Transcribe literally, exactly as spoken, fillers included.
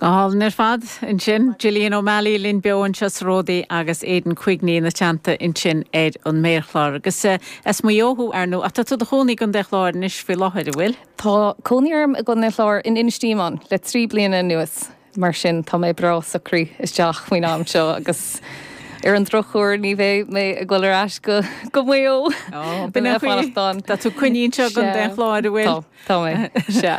Go hálainn ar fad ansin Gillian O'Malley linn beo anseo sa Ródaí agus Aidan Quigney ina teannta ansin ar an méarchlár agus uh, as Maigh Eo thú ar ndóigh ach tá tú i do chónaí i gContae an Chláir anois faoi láthair an bhfuil? Tá cónaí orm i gContae an Chláir in Inis Díomáin le trí bliana anuas mar sin tá mé breá socraithe isteach faoin am seo agus ar an drochuair ní bheidh mé ag dul ar ais go go Maigh Eo Tá tú coinnithe i gContae an Chláir an bhfuil? Tá mé se.